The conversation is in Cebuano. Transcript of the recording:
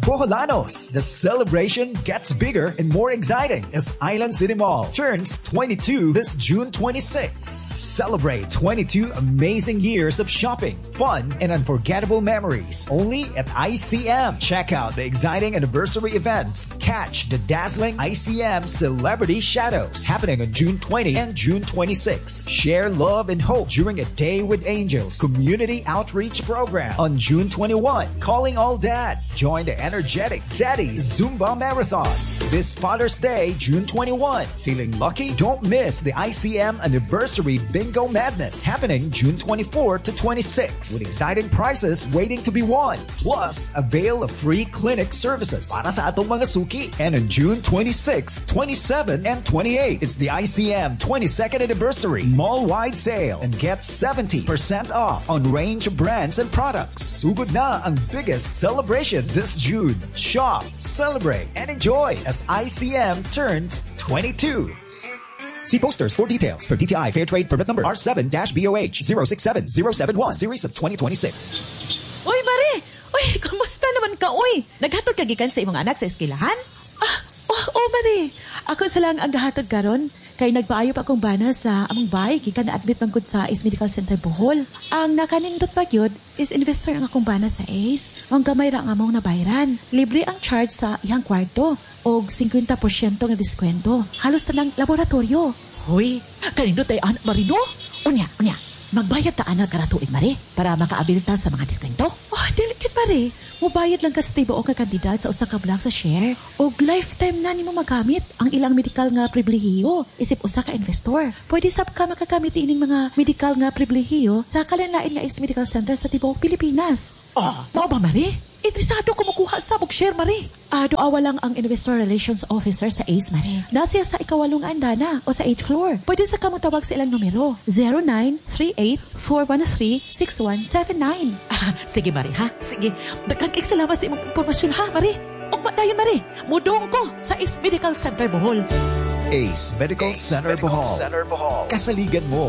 Boholanos, the celebration gets bigger and more exciting as Island City Mall turns 22 this June 26. Celebrate 22 amazing years of shopping, fun, and unforgettable memories only at ICM. Check out the exciting anniversary events. Catch the dazzling ICM Celebrity Shadows happening on June 20 and June 26. Share love and hope during a Day with Angels community outreach program on June 21. Calling all dads. Join the energetic Daddy Zumba Marathon this Father's Day, June 21. Feeling lucky? Don't miss the ICM Anniversary Bingo Madness happening June 24 to 26 with exciting prizes waiting to be won. Plus, avail of free clinic services para sa atong mga suki. And on June 26, 27, and 28, it's the ICM 22nd Anniversary Mall-Wide Sale and get 70% off on range of brands and products. Sugod na ang biggest celebration this June. Shop, celebrate, and enjoy as ICM turns 22. See posters for details for DTI Fair Trade Permit Number R7-BOH 067071 Series of 2026. Uy, Mare! Uy, kamusta naman ka, uy? Naghatod ka gikan sa imong anak sa eskilahan? Ah, oh, Mare. Ako sa lang ang gahatod karon kay nagpaayo pa akong bana sa among bahay gikan na-admit man gud sa Ace Medical Center Bohol. Ang nakanindot pa gyud is investor ang akong bana sa Ace. Ang gamay ra ang among nabayran. Libre ang charge sa iyang kwarto og 50% nga diskwento. Halos tanang laboratorio. Hoy, kanindot ay anak Marino? Unya, unya. Magbayad ta ana karang tuig, Mare, para makaabil ta sa mga diskwento. Oh, dili kid, Mare. Mubayad lang ka sa tibuok nga kantidad sa usa ka bulan sa share og lifetime na nimo magamit ang ilang medical nga pribilehiyo isip usa ka investor. Pwede sab ka makagamit ining mga medical nga pribilehiyo sa kalain-lain nga Ace Medical Center sa tibuok Pilipinas. Oh, mao ba, Mare? Interesado ko makuha sa og share, Mare. Ah, duawa lang ang Investor Relations Officer sa Ace, Mare. Naa siya sa ikawalong andana o sa 8th floor. Pwede sa ka motawag sa ilang numero. 0938-413-6179. Ah, sige, Mare, ha? Sige. Daghang kay salamat sa imong impormasyon, ha, Mare? Ugma dayon, Mare. Mudong ko sa Ace Medical Center Bohol. Ace Medical Center Bohol. Kasaligan mo.